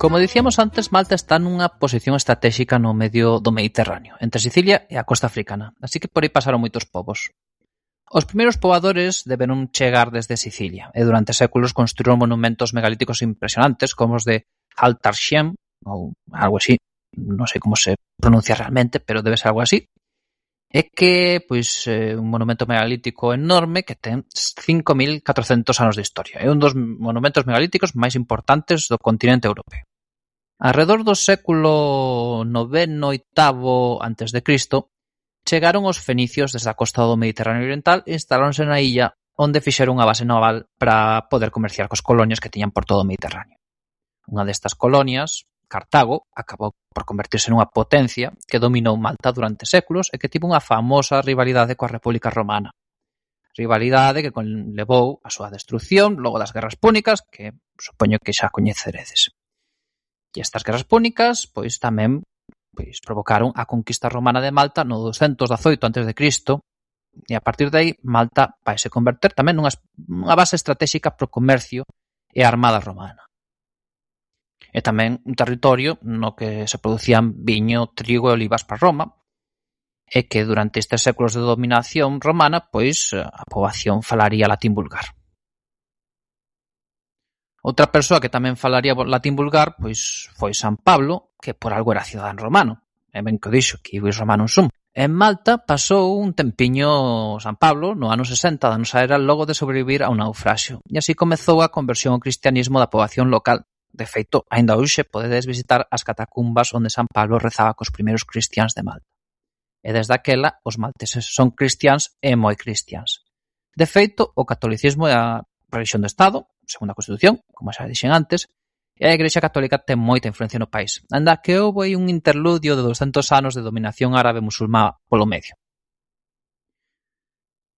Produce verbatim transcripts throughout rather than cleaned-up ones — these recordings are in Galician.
Como dicíamos antes, Malta está nunha posición estratégica no medio do Mediterráneo, entre Sicilia e a costa africana, así que por aí pasaron moitos povos. Os primeiros pobadores deberon chegar desde Sicilia, e durante séculos construíron monumentos megalíticos impresionantes, como os de Haltarshem, ou algo así, non sei como se pronuncia realmente, pero debe ser algo así, é que, pois, é un monumento megalítico enorme que ten cinco mil catrocentos anos de historia. É un dos monumentos megalíticos máis importantes do continente europeo. Arredor do século noveno oitavo antes de Cristo, chegaron os fenicios desde a costa do Mediterráneo Oriental e instaláronse na illa onde fixeron unha base naval para poder comerciar cos colonias que tiñan por todo o Mediterráneo. Unha destas colonias, Cartago, acabou por convertirse nunha potencia que dominou Malta durante séculos e que tivo unha famosa rivalidade coa República Romana. Rivalidade que levou a súa destrucción logo das Guerras Púnicas, que supoño que xa coñeceredes. E estas guerras púnicas, pois tamén pois provocaron a conquista romana de Malta no doscientos dezaoito antes de Cristo, e a partir de aí Malta vaise converter tamén nunha, nunha base estratégica pro comercio e a armada romana. E tamén un territorio no que se producían viño, trigo e olivas para Roma, e que durante estes séculos de dominación romana, pois a poboación falaría latín vulgar. Outra persoa que tamén falaría latín vulgar pois foi San Pablo, que por algo era cidadán romano. E ben que o dixo, que ius romanum sum. En Malta pasou un tempiño San Pablo no ano sesenta da nosa era logo de sobrevivir a un naufraxio. E así comezou a conversión ao cristianismo da poboación local. De feito, aínda hoxe podedes visitar as catacumbas onde San Pablo rezaba cos primeiros cristiáns de Malta. E desde aquela, os malteses son cristiáns e moi cristiáns. De feito, o catolicismo é a religión do Estado, segundo a Constitución, como xa dixen antes, e a Igrexa Católica ten moita influencia no país, anda que houve aí un interludio de doscientos anos de dominación árabe-musulmá polo medio.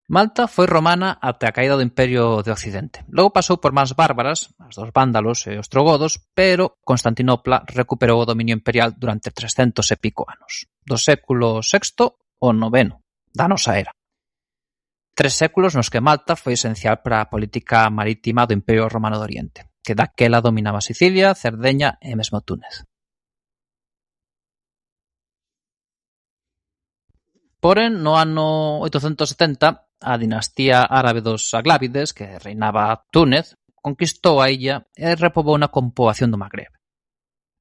Malta foi romana até a caída do Imperio de Occidente. Logo pasou por mans bárbaras, as dos vándalos e os trogodos, pero Constantinopla recuperou o dominio imperial durante trescentos e pico anos, do século sexto ao noveno da nosa era. Tres séculos nos que Malta foi esencial para a política marítima do Imperio Romano do Oriente, que daquela dominaba Sicilia, Cerdeña e mesmo Túnez. Porén, no ano oitocentos setenta, a dinastía árabe dos Aglábides, que reinaba Túnez, conquistou a illa e repobouna con poboación do Magreb.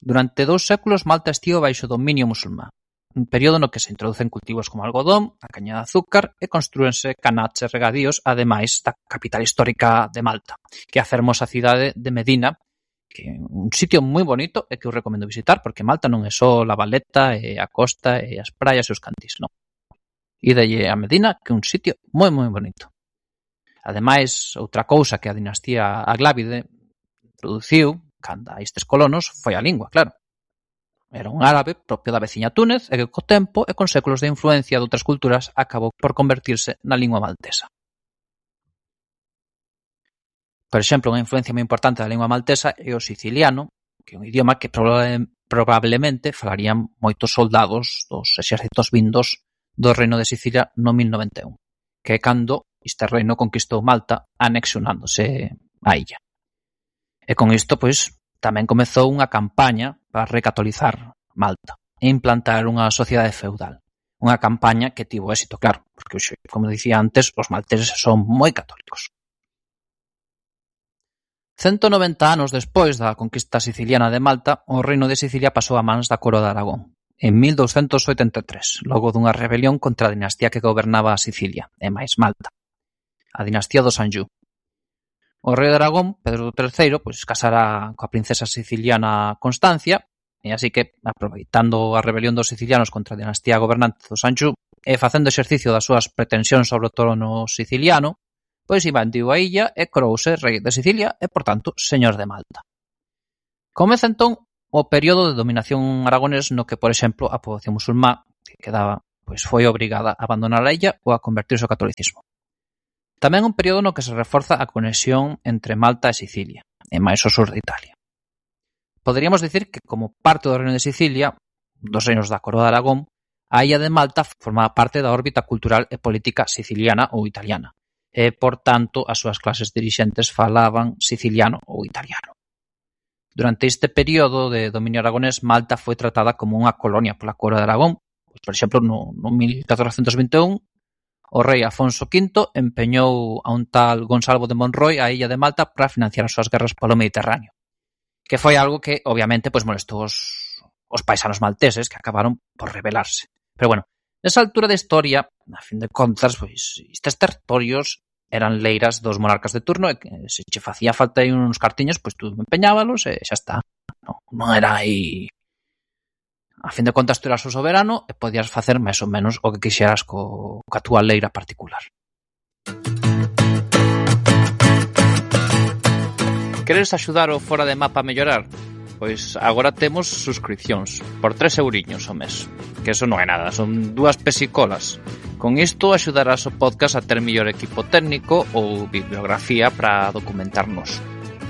Durante dous séculos Malta estivo baixo dominio musulmán, un período no que se introducen cultivos como algodón, a caña de azúcar e construense canaches e regadíos, ademais da capital histórica de Malta, que é a fermosa cidade de Medina, que é un sitio moi bonito e que eu recomendo visitar, porque Malta non é só a Valeta e a costa e as praias e os cantís, non. Ídalle a Medina, que é un sitio moi moi bonito. Ademais, outra cousa que a dinastía Aglávide introduciu, cando a estes colonos, foi a lingua, claro. Era un árabe propio da veciña Túnez e que co tempo e con séculos de influencia de outras culturas acabou por convertirse na lingua maltesa. Por exemplo, unha influencia moi importante da lingua maltesa é o siciliano, que é un idioma que probable, probablemente falarían moitos soldados dos exércitos vindos do Reino de Sicilia no mil noventa e un, que é cando este reino conquistou Malta anexionándose a illa. E con isto, pois, tamén comezou unha campaña para recatolizar Malta e implantar unha sociedade feudal. Unha campaña que tivo éxito, claro, porque, como dicía antes, os malteses son moi católicos. cento noventa anos despois da conquista siciliana de Malta, o reino de Sicilia pasou a mans da coroa de Aragón, en mil douscentos oitenta e tres, logo dunha rebelión contra a dinastía que gobernaba a Sicilia, e máis Malta, a dinastía dos Anjou. O rei de Aragón, Pedro terceiro, pois casara coa princesa siciliana Constancia, e así que, aproveitando a rebelión dos sicilianos contra a dinastía gobernante dos Anjou e facendo exercicio das súas pretensións sobre o trono siciliano, pois invadiu a illa e corouse rei de Sicilia e, por tanto, señor de Malta. Comeza entón o período de dominación aragonés no que, por exemplo, a poboación musulmá que quedaba, pois foi obrigada a abandonar a illa ou a convertirse ao catolicismo. Tamén un período no que se reforza a conexión entre Malta e Sicilia, e máis o sur de Italia. Poderíamos dicir que, como parte do reino de Sicilia, dos reinos da coroa de Aragón, a illa de Malta formaba parte da órbita cultural e política siciliana ou italiana, e, por tanto, as súas clases dirixentes falaban siciliano ou italiano. Durante este período de dominio aragonés, Malta foi tratada como unha colonia pola coroa de Aragón. Pois, por exemplo, no, no mil catorcentos vinte e un, o rei Afonso quinto empeñou a un tal Gonsalvo de Monroy a illa de Malta para financiar as súas guerras polo Mediterráneo, que foi algo que, obviamente, pois molestou os, os paisanos malteses, que acabaron por rebelarse. Pero bueno, nesa altura da historia, a fin de contas, pois estes territorios eran leiras dos monarcas de turno e que se che facía falta aí uns cartiños, pois tú empeñábalos e xa está. Non, non era aí... A fin de contas, tú eras o soberano e podías facer máis ou menos o que quixeras co, co a túa leira particular. Queres axudar o Fora de Mapa a mellorar? Pois agora temos suscripcións por tres euriños ao mes. Que eso non é nada, son dúas pesicolas. Con isto axudarás o podcast a ter mellor equipo técnico ou bibliografía para documentarnos,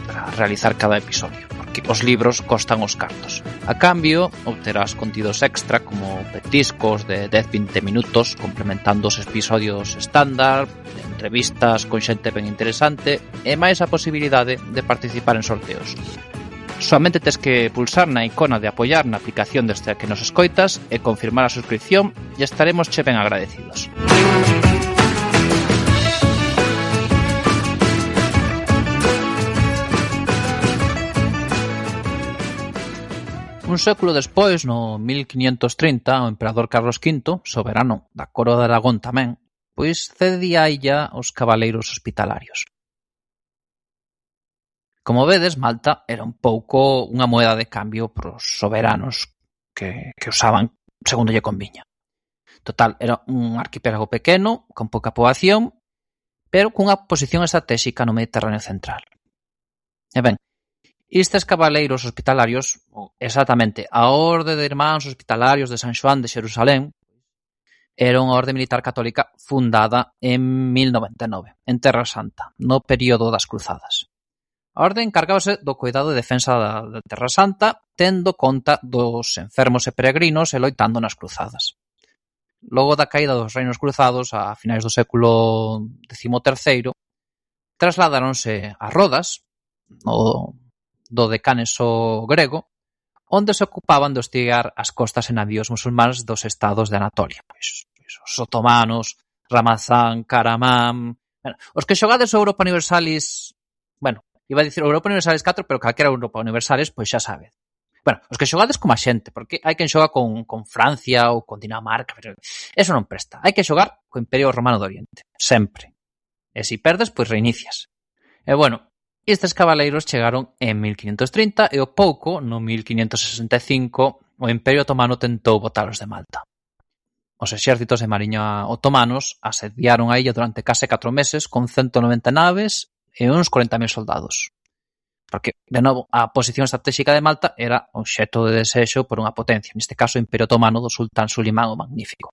para realizar cada episodio, porque os libros costan os cartos. A cambio, obterás contidos extra como petiscos de dez a vinte minutos complementando os episodios estándar, entrevistas con xente ben interesante e máis a posibilidade de participar en sorteos. Soamente tes que pulsar na icona de apoiar na aplicación desde a que nos escoitas e confirmar a suscripción e estaremos che ben agradecidos. Un século despois, no mil quinientos trinta, o emperador Carlos quinto, soberano da coroa de Aragón tamén, pois cedía a illa aos cabaleiros hospitalarios. Como vedes, Malta era un pouco unha moeda de cambio para os soberanos que, que usaban segundo lle conviña. Total, era un arquipélago pequeno, con pouca poboación, pero cunha posición estratégica no Mediterráneo central. E ben, estes cabaleiros hospitalarios, ou exactamente a Orde de Irmáns Hospitalarios de San Xoán de Xerusalén, era unha orde militar católica fundada en mil noventa e nove, en Terra Santa, no período das Cruzadas. A orde encargábase do cuidado e defensa da, da Terra Santa, tendo conta dos enfermos e peregrinos e loitando nas cruzadas. Logo da caída dos reinos cruzados, a finais do século decimoterceiro, trasladáronse a Rodas, no, do decaneso grego, onde se ocupaban de hostigar as costas e navíos musulmáns dos estados de Anatolia. Pois, pois, os otomanos, Ramazán, Karaman... Bueno, os que xogades o Europa Universalis... Bueno, iba a dicir Europa Universalis catro, pero calquera Europa Universalis, pois xa sabe. Bueno, os que xogades como a xente, porque hai quen xoga con, con Francia ou con Dinamarca, pero eso non presta. Hai que xogar co Imperio Romano do Oriente, sempre. E se perdes, pois reinicias. E bueno, estes cabaleiros chegaron en mil quinientos trinta e o pouco, no mil quinientos sesenta e cinco, o Imperio Otomano tentou botalos de Malta. Os exércitos de mariña otomanos asediaron a illa durante case catro meses con ciento noventa naves e uns corenta mil soldados. Porque, de novo, a posición estratégica de Malta era obxecto de desexo por unha potencia, neste caso o Imperio Otomano do sultán Sulimán o Magnífico.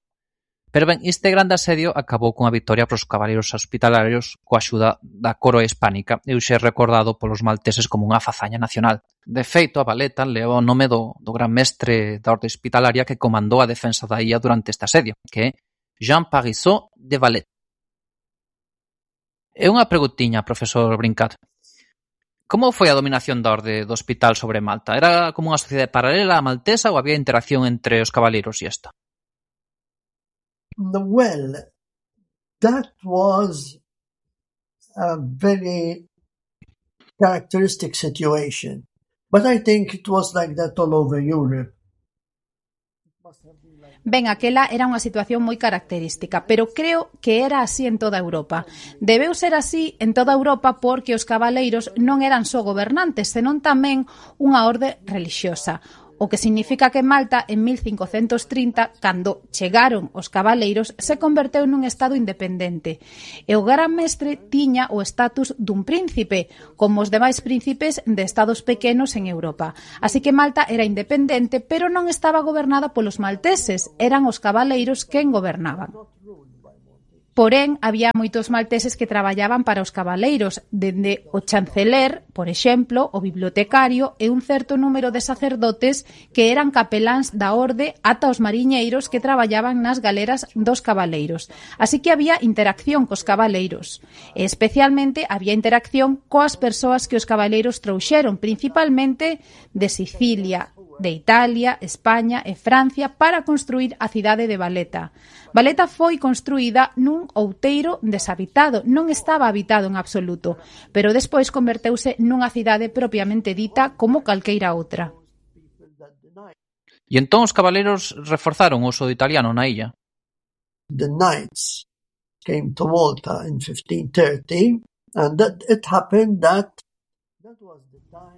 Pero ben, este grande asedio acabou cunha victoria para os cabaleiros hospitalarios coa axuda da coroa hispánica e hoxe é recordado polos malteses como unha fazaña nacional. De feito, a Valeta leva o nome do, do gran mestre da orde hospitalaria que comandou a defensa da illa durante este asedio, que é Jean Parisot de Valette. E unha preguntiña, profesor Brincat. Como foi a dominación da orde do hospital sobre Malta? Era como unha sociedade paralela a maltesa ou había interacción entre os cabaleiros e esta? Well, that was a very characteristic situation. But I think it was like that all over Europe. Ben, aquela era unha situación moi característica, pero creo que era así en toda Europa. Debeu ser así en toda Europa porque os cabaleiros non eran só gobernantes, senón tamén unha orde relixiosa. O que significa que Malta, en mil cincocentos trinta, cando chegaron os cabaleiros, se converteu nun estado independente. E o gran mestre tiña o estatus dun príncipe, como os demais príncipes de estados pequenos en Europa. Así que Malta era independente, pero non estaba gobernada polos malteses, eran os cabaleiros quen gobernaban. Porén, había moitos malteses que traballaban para os cabaleiros, dende o chanceler, por exemplo, o bibliotecario e un certo número de sacerdotes que eran capeláns da orde ata os mariñeiros que traballaban nas galeras dos cabaleiros. Así que había interacción cos cabaleiros. E especialmente había interacción coas persoas que os cabaleiros trouxeron, principalmente de Sicilia, de Italia, España e Francia para construir a cidade de Valeta. Valeta foi construída nun outeiro deshabitado, non estaba habitado en absoluto, pero despois converteuse nunha cidade propiamente dita como calqueira outra. E entón os cabaleiros reforzaron o uso do italiano na illa? The knights came to Malta in fifteen thirty, and that it happened that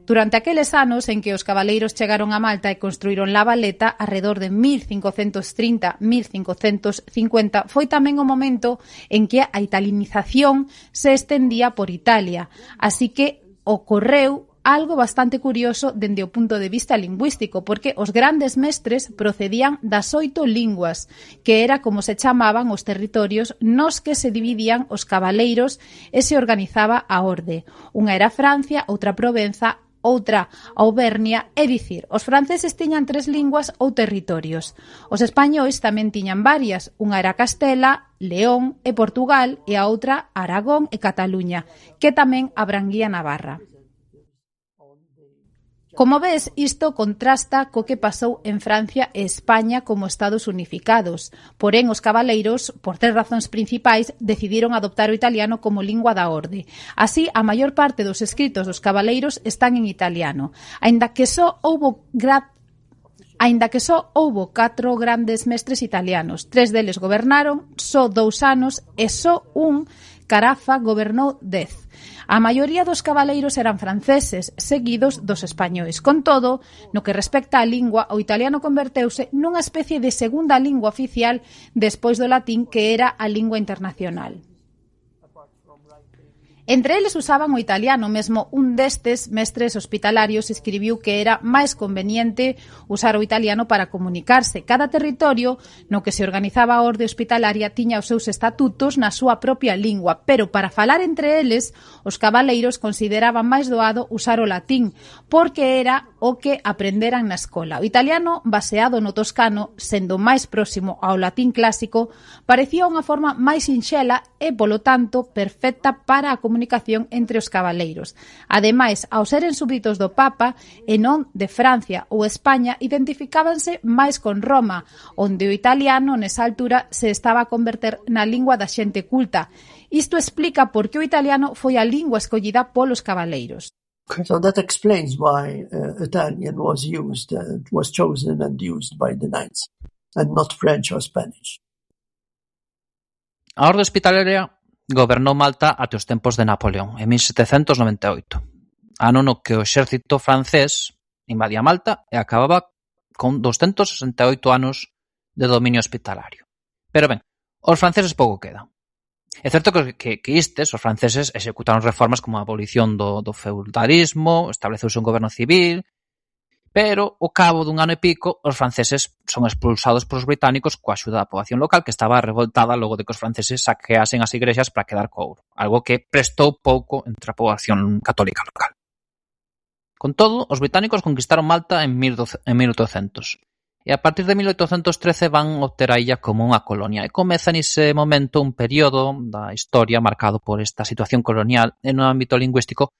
Durante aqueles anos en que os cabaleiros chegaron a Malta e construíron la Valeta, arredor de mil cincocentos trinta a mil cincocentos cincuenta, foi tamén o momento en que a italinización se estendía por Italia. Así que ocorreu algo bastante curioso dende o punto de vista lingüístico, porque os grandes mestres procedían das oito linguas, que era como se chamaban os territorios nos que se dividían os cabaleiros e se organizaba a orde. Unha era Francia, outra Provenza, outra Auvernia, é dicir, os franceses tiñan tres linguas ou territorios. Os españois tamén tiñan varias, unha era Castela, León e Portugal e a outra Aragón e Cataluña, que tamén abranguía Navarra. Como ves, isto contrasta co que pasou en Francia e España como estados unificados. Porén, os cabaleiros, por tres razóns principais, decidiron adoptar o italiano como lingua da orde. Así, a maior parte dos escritos dos cabaleiros están en italiano, aínda que só houbo gra... aínda que só houbo catro grandes mestres italianos. Tres deles gobernaron só dous anos e só un, Carafa, gobernou dez. A maioría dos cabaleiros eran franceses, seguidos dos españois. Con todo, no que respecta á lingua, o italiano converteuse nunha especie de segunda lingua oficial despois do latín, que era a lingua internacional. Entre eles usaban o italiano, mesmo un destes mestres hospitalarios escribiu que era máis conveniente usar o italiano para comunicarse. Cada territorio no que se organizaba a orde hospitalaria tiña os seus estatutos na súa propia lingua, pero para falar entre eles, os cabaleiros consideraban máis doado usar o latín, porque era o que aprenderan na escola. O italiano, baseado no toscano, sendo máis próximo ao latín clásico, parecía unha forma máis sinxela e, polo tanto, perfecta para a comunicación entre os cabaleiros. Ademais, ao seren súbditos do Papa e non de Francia ou España, identificábanse máis con Roma, onde o italiano nesa altura se estaba a converter na lingua da xente culta. Isto explica por que o italiano foi a lingua escollida polos cabaleiros. So that explains why uh, Italian was used, uh, was chosen and used by the knights, and not French or Spanish. A orde hospitalaria gobernou Malta até os tempos de Napoleón, en mil setecentos noventa e oito, ano no que o exército francés invadía Malta e acababa con doscentos sesenta e oito anos de dominio hospitalario. Pero ben, os franceses pouco quedan. É certo que, que, que estes, os franceses, executaron reformas como a abolición do, do feudalismo, estableceuse un goberno civil, pero, ao cabo dun ano e pico, os franceses son expulsados polos británicos coa axuda da poboación local, que estaba revoltada logo de que os franceses saqueasen as igrexas para quedar co ouro, algo que prestou pouco entre a poboación católica local. Con todo, os británicos conquistaron Malta en mil oitocentos, e a partir de mil oitocentos trece van obter a illa como unha colonia, e comeza nese momento un período da historia marcado por esta situación colonial e no ámbito lingüístico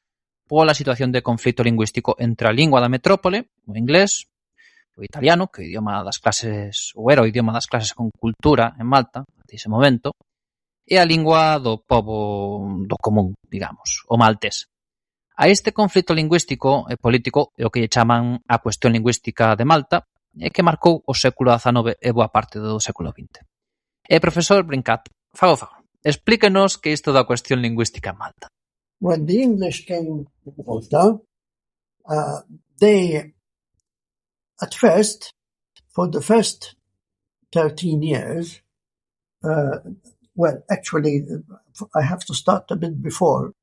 pola situación de conflito lingüístico entre a lingua da metrópole, o inglés, o italiano, que é o idioma das clases, ou era o idioma das clases con cultura en Malta, até ese momento, e a lingua do pobo do común, digamos, o maltés. A este conflito lingüístico e político é o que lle chaman a cuestión lingüística de Malta, e que marcou o século dezanove e boa parte do século vinte. E, profesor Brincat, fago favor, explíquenos que isto da cuestión lingüística en Malta. When the English came to Malta, uh, they, at first, for the first thirteen years, uh, well, actually, I have to start a bit before.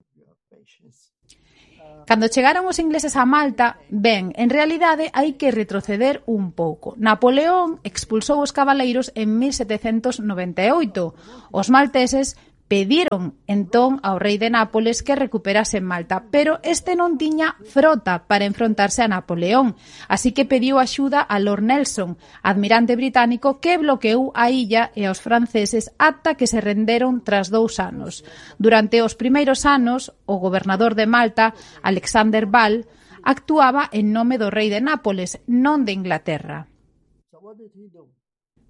Cando chegaron os ingleses a Malta, ben, en realidade hai que retroceder un pouco. Napoleón expulsou os cabaleiros en mil setecentos noventa e oito. Os malteses pediron entón ao rei de Nápoles que recuperase Malta, pero este non tiña frota para enfrontarse a Napoleón, así que pediu axuda a Lord Nelson, admirante británico que bloqueou a illa e aos franceses ata que se renderon tras dous anos. Durante os primeiros anos, o gobernador de Malta, Alexander Ball, actuaba en nome do rei de Nápoles, non de Inglaterra.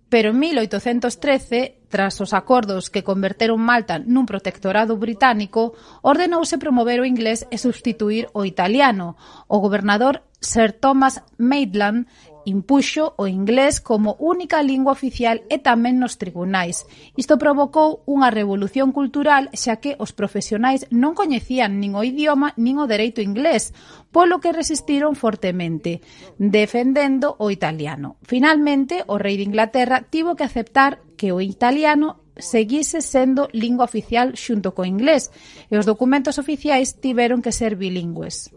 Pero en mil oitocentos trece, tras os acordos que converteron Malta nun protectorado británico, ordenouse promover o inglés e substituir o italiano. O gobernador Sir Thomas Maitland impuxo o inglés como única lingua oficial e tamén nos tribunais. Isto provocou unha revolución cultural xa que os profesionais non coñecían nin o idioma nin o dereito inglés, polo que resistiron fortemente, defendendo o italiano. Finalmente, o rei de Inglaterra tivo que aceptar que o italiano seguise sendo lingua oficial xunto co inglés e os documentos oficiais tiveron que ser bilingües.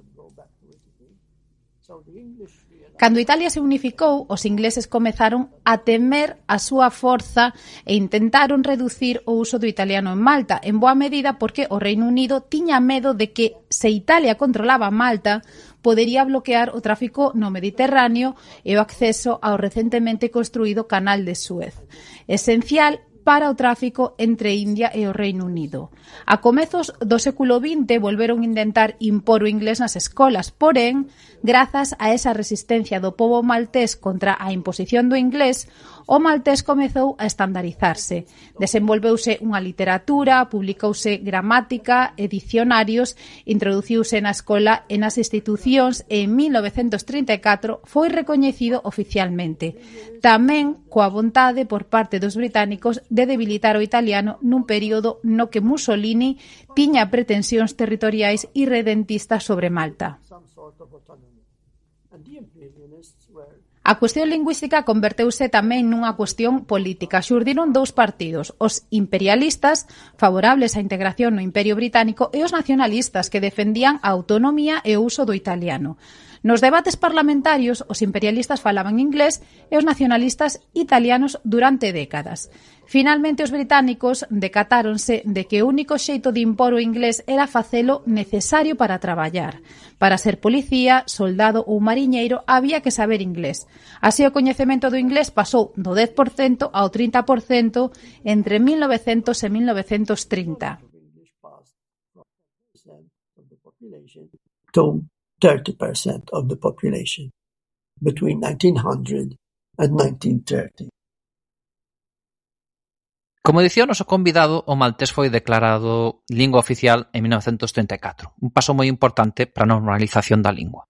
Cando Italia se unificou, os ingleses comezaron a temer a súa forza e intentaron reducir o uso do italiano en Malta, en boa medida porque o Reino Unido tiña medo de que, se Italia controlaba Malta, podería bloquear o tráfico no Mediterráneo e o acceso ao recentemente construído Canal de Suez, esencial para o tráfico entre India e o Reino Unido. A comezos do século vinte volveron a intentar impor o inglés nas escolas, porén, grazas a esa resistencia do pobo maltés contra a imposición do inglés, o maltés comezou a estandarizarse. Desenvolveuse unha literatura, publicouse gramática e dicionarios, introduciuse na escola e nas institucións e en mil novecentos trinta e catro foi recoñecido oficialmente. Tamén coa vontade por parte dos británicos de debilitar o italiano nun período no que Mussolini tiña pretensións territoriais irredentistas sobre Malta. A cuestión lingüística converteuse tamén nunha cuestión política. Xurdiron dous partidos, os imperialistas, favorables á integración no Imperio Británico, e os nacionalistas, que defendían a autonomía e o uso do italiano. Nos debates parlamentarios, os imperialistas falaban inglés e os nacionalistas italianos durante décadas. Finalmente, os británicos decatáronse de que o único xeito de impor o inglés era facelo necesario para traballar. Para ser policía, soldado ou mariñeiro había que saber inglés. Así, o coñecemento do inglés pasou do dez por cento ao trinta por cento entre mil novecentos e mil novecentos trinta. thirty percent of the population between nineteen hundred and nineteen thirty. Como dicía o noso convidado, o maltés foi declarado lingua oficial en mil novecentos trinta e catro, un paso moi importante para a normalización da lingua.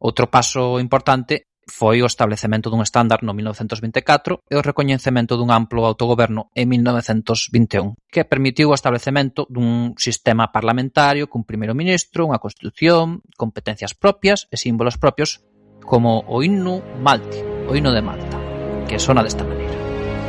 Outro paso importante foi o establecemento dun estándar no mil novecentos vinte e catro e o recoñecemento dun amplo autogoberno en mil novecentos vinte e un, que permitiu o establecemento dun sistema parlamentario cun primeiro ministro, unha constitución, competencias propias e símbolos propios como o himno Malti, o himno de Malta, que sona desta maneira.